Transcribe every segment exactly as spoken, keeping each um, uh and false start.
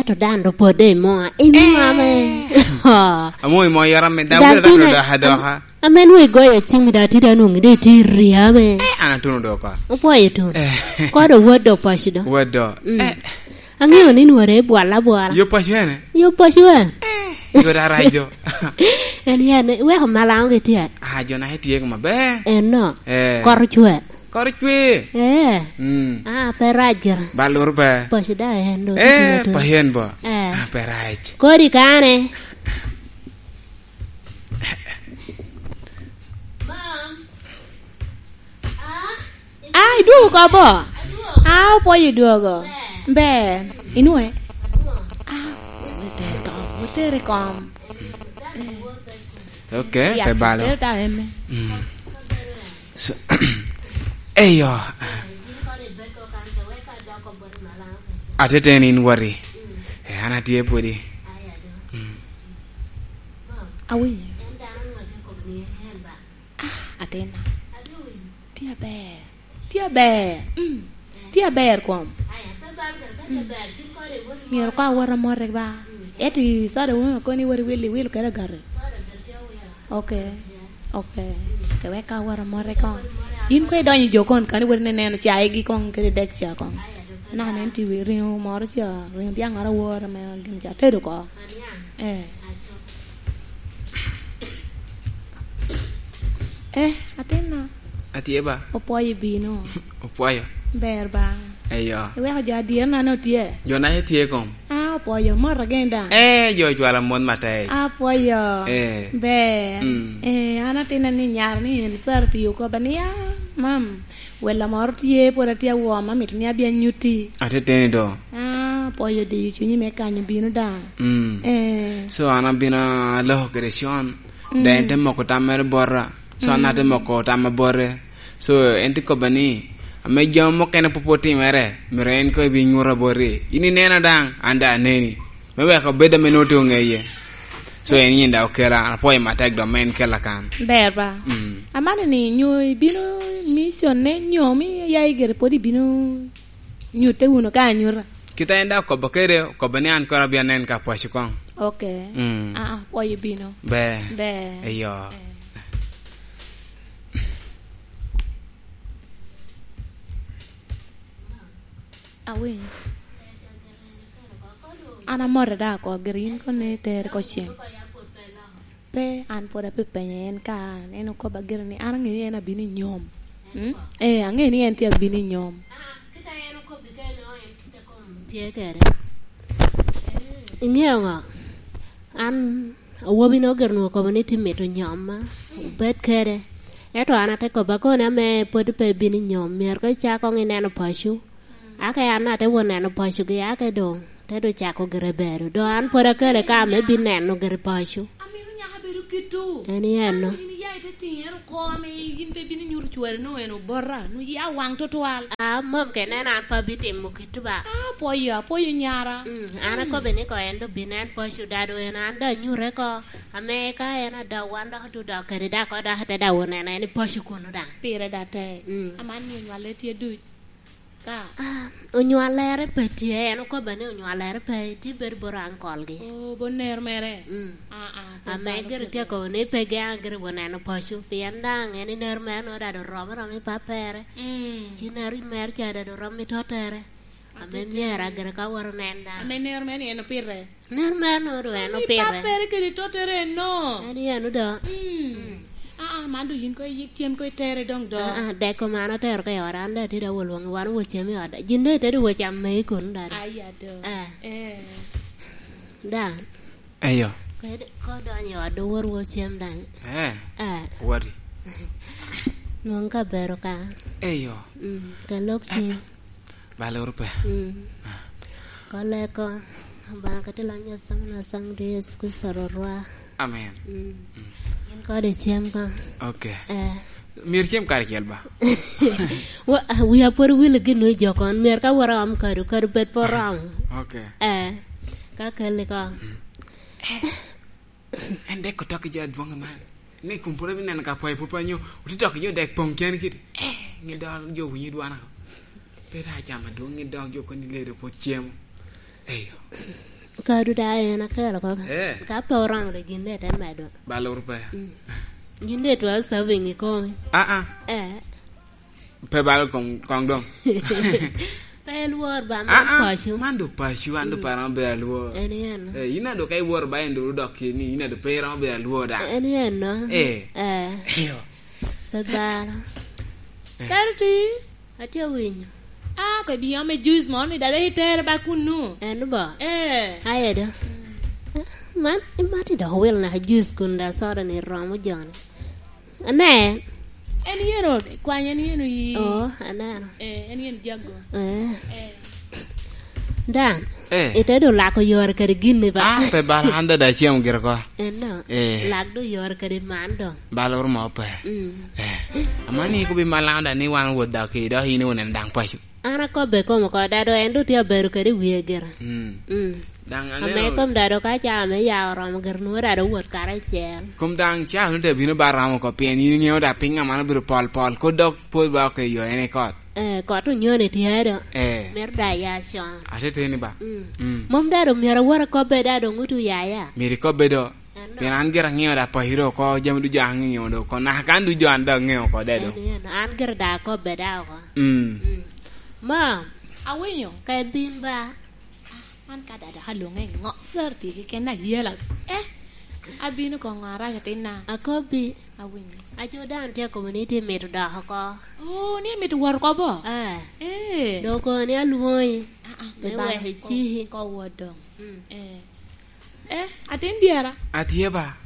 To dan do podde i mo, i mo ame. Amo i mo yara me, dan wira dok doka doka. Ame nwe goyo cim da ti dan nungi de ti ria me. Eh, an atuno doka. Opwoyo tun. Eh. Kodo word do paci do. Word do. Mm. Eh. Ang'eyo ni nwore bwala bwala. Yo paci ene? Yo paci ene. Eh, yo da rac do. En yan, weko malaŋo gi tye. Ah, jo na itye kuma be. En no. Eh. Koro cwe. Kor cwe. Eh. Mm. Ah, pe rac gira. Ba luru pe. Paci da en do. Eh, pa yen bo. Eh. Ah, pe rac. Kodi kane. Mom. Ah. Ah, idwogo oko bo? Ah, opwoyo idwogo. Ber. Inwoŋe? Ah, otere kom, otere kom. Ok, ya, pe balo. Tere ta eme. Mm. So, eyo. Atete ni in wari. Eh, an atye pwodi. Mm. Awinyo. Ah, atina. Tye aber. Tye aber. Mm. Tye aber kom. Mm. Myero ka awot amote ba. Ento i soda wun okoni wot iwil, iwil kede gati. Ok. Ok. Ke wek ka awot amote kong. In kwe idonyo i jo kon kani wot ineno caigi kong kede dek ca kong. Naka nen ti wi ringo moro ca, ringo dyaŋ ŋara awor ame gin ca tedo ko. Eh. Eh, atinna. Atye ba? Opwoyo bino. Opwoyo. Ber ba? Eyo. Iweko jo adyerna ni otye? Jo na itye kom? Ah, opwoyo, mot agen daŋ. Eh, jo ocwala mot matek. Apwoyo. Eh. Ber. Mm. Eh, an atinna ni nyar ni en sara tiyo koba ni, ah, mam, wella moro tye, pwod atye awom, amito ni abia nyutti. Ateteni do. Ah, apwoyo diyo cunyi me kanyo bino daŋ. Mm. Eh. So, an abino aloko kede con. Mm. Dok en te moko tam mere bota. So, an ate moko tam abote. So, en te kobba ni, ame jami mukene pwod pe otimere, myero en koŋ ebi nyuta boti. In inena daŋ, an daŋ aneni. Me wek obed ame nwoŋo tye oŋeye. So, en yin daŋ okela, an apwoyo matek dok me en kela kan. Ber ba? Mm. Amano ni nyo ibino mission ne nyo mi ya igere pwod ibino nyutte wunu ka anyuta? Kite en daŋ okobo kede, okobo ni an kono abino anen ka pwaci koŋ. Ok. Mm. Ah, ah, pwoyo bino. Ber. Ber. Eyo. Eh. Awinyo. An amote da oko, gire in kono itere oko cen. Pe, an pwod apepenye en ka, en okoba gire ni, an aŋeyo ni en abino i nyom. Mm? Eh, aŋeyo ni en tye abino i nyom. Tye kede. Iŋeo ŋo? An awobi no gire nwoŋo okobo ni tye mito nyoma, obed kede. Ento an ate kobba koni ame pwod pe bino i nyom, myero ka icako ŋo ineno paco. Ake an ate wot neno paco gi, ake doŋ te doŋ cako gire bedo. Doŋ an pwod akele ka ame bin neno gire paco. Amito nyaka bedo kitu. En i eno. Yin iya ite tiŋere oko ame yin pe bino nyuto cwari no en obota, nu ya waŋ tutwal. Ah, mom ke neno an pe abitimo kitu ba. Ah, apwoyo, apwoyo nyara. Mm, an akobe ni ko en doŋ bin en paco dado en, an doŋ anyute ko. Ame ka en adok wan dok odok kede dako dok ate dawo neno en i paco kunu daŋ. Pire da tek. Mm. Aman ni onywale tye duc. Ka? Ah, onywalere pe tye, en okobba ni onywalere pe, tye bedo bot uncle-gi. Oh, bot nero mere? Mm. Ah, ah, pe ame balo gire pe tye balo. Kobo ni pe geŋ gire wot neno paco, pien daŋ en i nero mere nwoŋo dado oromo, oromo i pappere. Mm. Ci nero mere ca dado oromo i tottere. Ame myero agire ka wot onen daŋ. Ame nero mere ni en opire? Nen mere nwoŋo doŋ en opire. Pappere kede tottere eno. En yen odo. Mm. Mm. Ah, ah, man doŋ yin ko iyik cem ko itere doŋ do. Ah, ah, dek komano atero ka i ot, an daŋ atye daŋ olwoŋi wan owo cem i ot. Jin doŋ itedo wo cam megi kono daŋ. Aya do. Eh. Eh. Daŋ. Eyo. Kede, ko donyo i ot, doŋ wot wo cem daŋ. Eh. Eh. Woti. Nwoŋo ka bero ka. Eyo. Mm, ka lok cim. Ba loro pe. Mm. Kolle ko, Obaŋa ka tye lony asaŋ na saŋ dwe Yecu Kricito Rwotwa. Amen. Mm. Mm. In kode cem ka. Ok. Eh. Myero cem karacel ba? Wa, ah, wia pwod owil gin nwoŋo i jo kon. Myero ka wot aom kado, kado bed pe oromo. Ok. Eh. Ka kelli ko. Mm. En dek otok i jo adwoŋ man. Ni kun pwod abineno ka pwai pwod pe anyo, ote tok i jo dek poŋ keni kiti. Eh, ŋe dok jo winyo dwana. Pe raa cam adwoŋ, ŋe dok jo koni ledo pwod cemo. Eyo. Kadu da en akelo koko. Eh. Ka pe oromo de gin de te medo. Balor pe. Mm. Gin de twero serving i komi. Ah, ah. Eh. Pe balo kong, kong dong. Pe lwor ba, man, ah, ah, paco. Man do paco, an do, mm, pe romo bedo alwor. En yen. Eh, in ado ka iwor ba en do dok keni, in ado pe romo bedo alwor da. En yen, no? Eh. Eh. Eyo. Pe balo. Eh. Kadi ti? Atye winyo. Ah, ko bi ome juice mo ni dada itere ba kunu. En bo? Eh. Aye do. Man, imati dok wil naka juice kun da soda ni romo joni. Ane. En yero, kwany en yero yi. Oh, aneno. Eh, en yero jago. Eh. Eh. Dan, eh, ite do lako yore kede gin ni ba? Ah, pe bala, an dada acemo gire ko. Eno, eh, lak do yore kede man do. Bala oro mo pe. Mm. Eh. Amani ko bi malanda ni wan wot da ki do, in won en dang paco. An akobbe kom oko, dado en do tye abedo kede wie gira. Mm. Mm. Daŋ ame aneno kom dado ka caa me ya oromo gire, nwoŋo dado owot karacel. Kom daŋ caa nwoŋo te bino ba romo oko, pien in iŋeo da piny aman obedo pol pol, kod dok pwod ba oko i yo en i kot. Eh, kot onyoni tye do. Eh. Mito da ya con. Ate teni ba? Mm. Mm. Mom dado myero awot akobbe da doŋ wutu yaya. Myero ikobbe do. Pien an gira aŋeo da paco do oko, jami ducu aŋeo do oko, naka kan ducu an da aŋeo oko de do. En, en, an gira da akobbe da oko. Mm. Mm. Ma, awinyo. Ka ibin ba. Ah, man ka dada ka luŋe ŋo? Sir ti keken na yela. Eh, abino ko ŋo arac atinna. Akobbi. Awinyo. Aco dan tye community mito dok oko. Oh, ni mito wot oko bo? Eh. Eh. Dok ni alwoŋi. Ah, ah, me wek iciki. Ko, ko wot dong. Mm. Eh. Eh, atin dyera. Atye ba.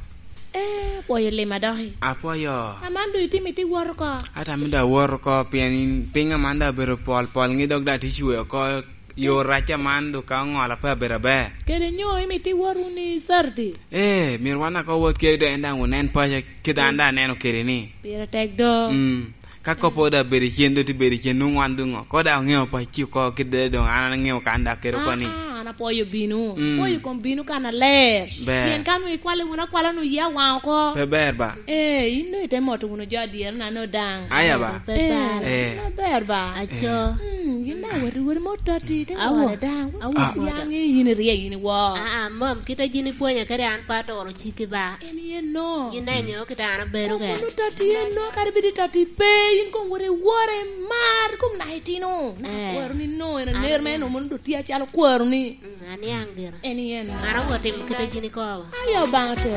Eh, apwoyo lima doki. Apwoyo. Aman do itimo iti wot oko. Ata mi da wot oko, pien in piny aman da obedo pol pol, ŋi dok da ti cwe oko, yo rac aman do ka oŋola pe abedo aber. Kede nyo imi ti wot wun i Saturday? Eh, myero wan aka wot kede do en daŋ onen paco, kede an da aneno kede ni. Pire tek do. Mm. Ka kop ode abedo icen, do tye bedo icen, nwoŋo wan doŋ oko. Ko da oŋeo paco oko, kede doŋ an aŋeo kan da kede oko ni. Ah, ah, an apwoyo bino. Mm. Apwoyo kom bino kan aler. Ber. Pien kan ikwale wun akwala nu yia waŋ oko. Pe ber ba? Eh, in do ite moto wunu jo adyere na no daŋ. Aya ba? Pe ber. Eh. Eh. Na ber ba? Aco. Mm, yin na wati wori mo toti, te wore daŋ. Awo. Awo. Ah. Yaŋ in rie in wo. Ah, ah, mom, kite jin ipwonyo kede an pa toro ciki ba. En yen no. Yin daŋ iŋeo kite an abedo kede. Kono toti en no, kadi bidi toti pe, yin kom wore wore mar, kom na itino. Na kwaro ni no, en aner ma en omono do tye acalo kwaro ni. Mm, aniaŋ gira. En yen no. An awot timo kite jin ikobo. Ayo Obaŋa oter.